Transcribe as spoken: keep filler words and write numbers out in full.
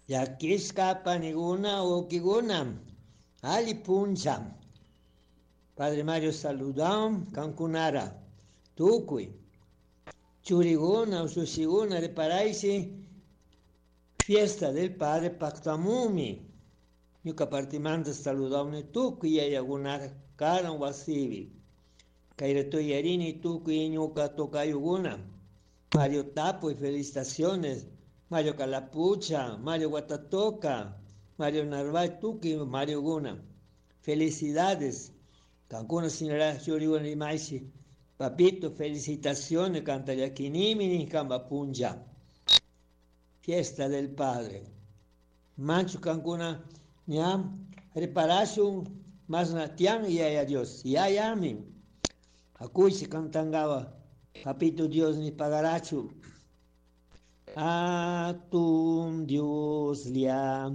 Llaquishka paniguna huauquiguna alli punlla. Padre Mario saludan kankunara. Tukuy. Churiguna, ushishiguna, reparaichi. Fiesta del Padre pactamumi. Ñuka partimanta saludawni tukuy yayagunara karan wasibi. Kayrato yarini tukuy ñuka tocayuguna. Mario Tapo y felicitaciones. Mario Calapucha, Mario Guatatoca, Mario Narváez Tuki, Mario Guna. Felicidades. Cancuna señora Churiguna Rimaishi. Papito, felicitaciones, canta Yaquinimini, Camba Punja. Fiesta del Padre. Manchu Cancuna, ñam, reparashun, masna tian yaya Dios. Yayami. Akuichi cantangaba. Papito Dios ni pagarachu. Atun Dios lia.